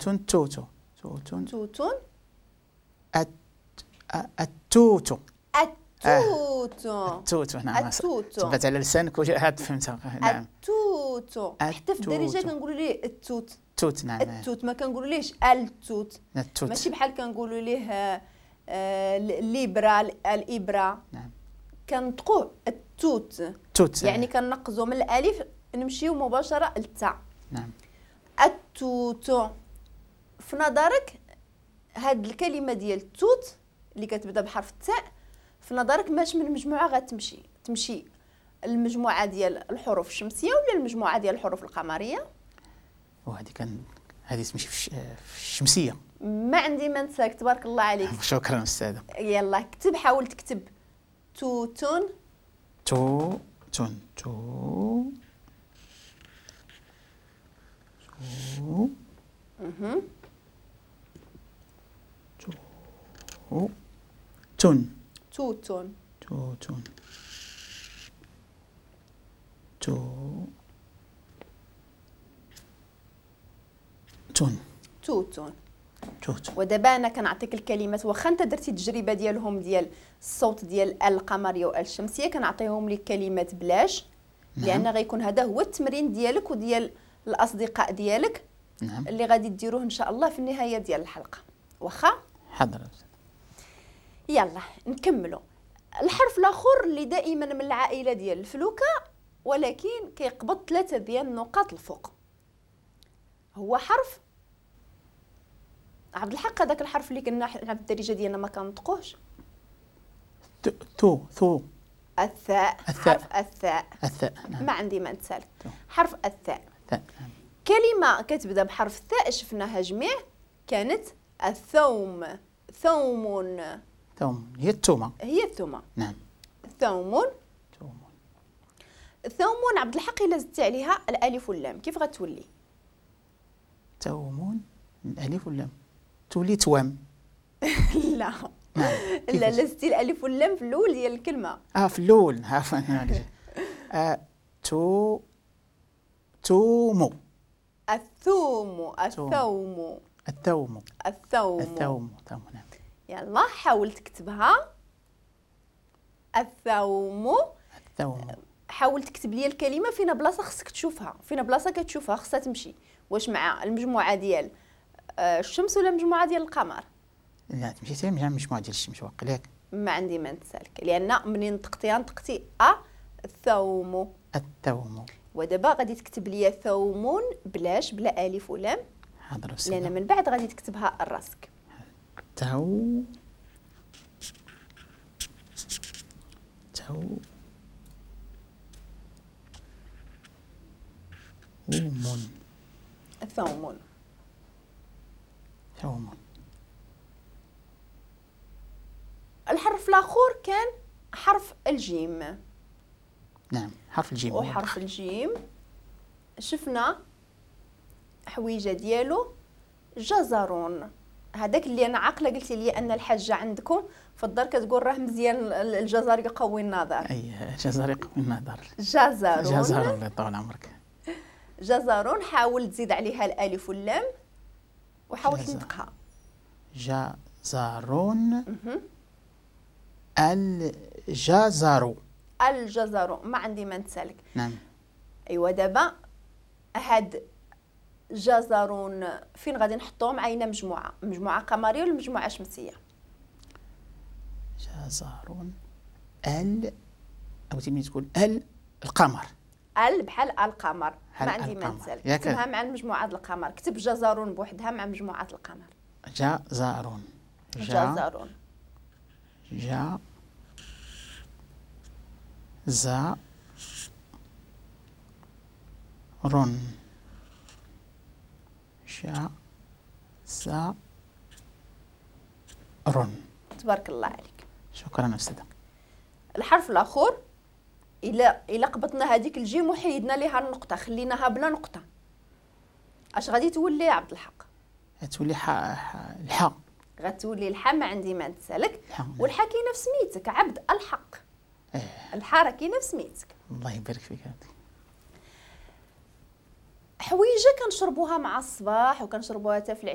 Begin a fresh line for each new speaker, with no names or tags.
توت توتو توت
توت.
التوت.
التوت.
التوت. نعم
التوت.
تبت على لسانك وعاد فهمتها. نعم
التوت. حتى في الدارجة كنقولوا ليه التوت.
التوت. نعم
التوت، ما كنقولوا ليش التوت.
التوت
ماشي بحال كنقولوا ليه الليبرا الابره.
نعم
كنطقوه التوت.
التوت
يعني كنقزوا من الالف نمشيو مباشرة للتاء.
نعم
التوت. في نظرك هاد الكلمة ديال التوت اللي كتبدا بحرف التاء، في نظرك ماش من مجموعة غتمشي؟ تمشي المجموعة ديال الحروف الشمسية ولا المجموعة ديال الحروف القمريه؟
وهذه كان هذه تمشي في الشمسية.
ما عندي ما نساك، تبارك الله عليك.
شكرا استاذه.
يلا كتب، حاول تكتب توتون.
توتون تو تو تو تون.
توتون.
توتون تو تون.
توتون.
توت.
ودابا انا كنعطيك الكلمات، واخا انت درتي التجربة ديالهم ديال الصوت ديال القمريه والشمسيه، كنعطيهم لك كلمات بلاش.
نعم.
لان غيكون هذا هو التمرين ديالك وديال الاصدقاء ديالك.
نعم.
اللي غادي ديروه ان شاء الله في النهاية ديال الحلقة. واخا
حاضر.
يلا نكملوا. الحرف الاخر اللي دائما من العائلة ديال الفلوكه ولكن كيقبض 3 ديال النقاط الفوق، هو حرف عبد الحق. هذاك الحرف اللي كنا حنا في الدارجة ديالنا ما كنطقوهش.
تو ثو.
الثاء.
الثاء.
حرف الثاء.
الثاء. نعم.
ما عندي ما نتسالك. حرف الثاء.
الثاء. نعم.
كلمة كتبدا بحرف الثاء شفناها جميع، كانت الثوم. ثوم.
ثوم هي الثومه.
هي الثومه.
نعم.
ثوم.
ثوم.
ثوم. عبد الحق الا زدتي عليها الالف واللام كيف غتولي؟
ثوم الالف واللام تولي توام.
لا.
نعم.
لا، لا زدتي الالف واللام في الاول ديال الكلمة.
في الاول. عفوا. تو تومو.
الثوم. الثوم.
الثوم.
الثوم.
الثوم. الثوم. نعم.
يلا حاول تكتبها. الثوم.
الثوم.
حاول تكتب لي الكلمة فينا بلاصة خصك تشوفها، فينا بلاصة كتشوفها خصها تمشي، واش مع المجموعة ديال الشمس ولا المجموعة ديال القمر؟
لا تمشي حتى مع المجموعة ديال الشمس واقيلا.
ما عندي ما نتسالك، لان منين نطقتيها نطقتي الثوم.
الثوم.
ودابا غادي تكتب لي ثوم بلاش بلا الف ولام.
حاضر أستاذ.
لان من بعد غادي تكتبها راسك.
تو تو ومن.
ثوم.
ثوم.
الحرف الاخر كان حرف الجيم.
نعم حرف الجيم.
وحرف الجيم شفنا حويجه ديالو جزرون. هذاك اللي انا عاقلة قلتي لي ان الحاجة عندكم في الدار كتقول راه مزيان الجزر يقوي النظر.
اي الجزر يقوي النظر.
جزرون.
جزرون الله يطول عمرك.
جزرون. حاول تزيد عليها الالف واللام وحاول تنطقها.
جزرون. الجزر.
الجزر. ما عندي ما نتسالك.
نعم.
ايوا دابا هاد جزرون فين غادي نحطوهم؟ عينا مجموعة، مجموعة قمريه ولا مجموعة شمسية؟
جزرون ال او تمي تقول ال القمر.
ال بحال القمر. ما عندي ما نتسالك. كتبها مع مجموعة القمر. كتب جزرون بوحدها مع مجموعة القمر.
جزرون.
جزرون.
جا زا رون. شا سا رون.
تبارك الله عليك.
شكرا أستاذة.
الحرف الآخر إلا قبطنا هذيك الجيم وحيدنا ليها النقطة، خليناها بلا نقطة، اش غادي تولي يا عبد الحق؟
غتولي الحاء.
غتولي الحاء. ما عندي ما نتسالك. والحاء كاينه في سميتك عبد الحق. الحاء راه كاينه في سميتك.
الله يبارك فيك.
حويجه كنشربوها مع الصباح وكنشربوها حتى في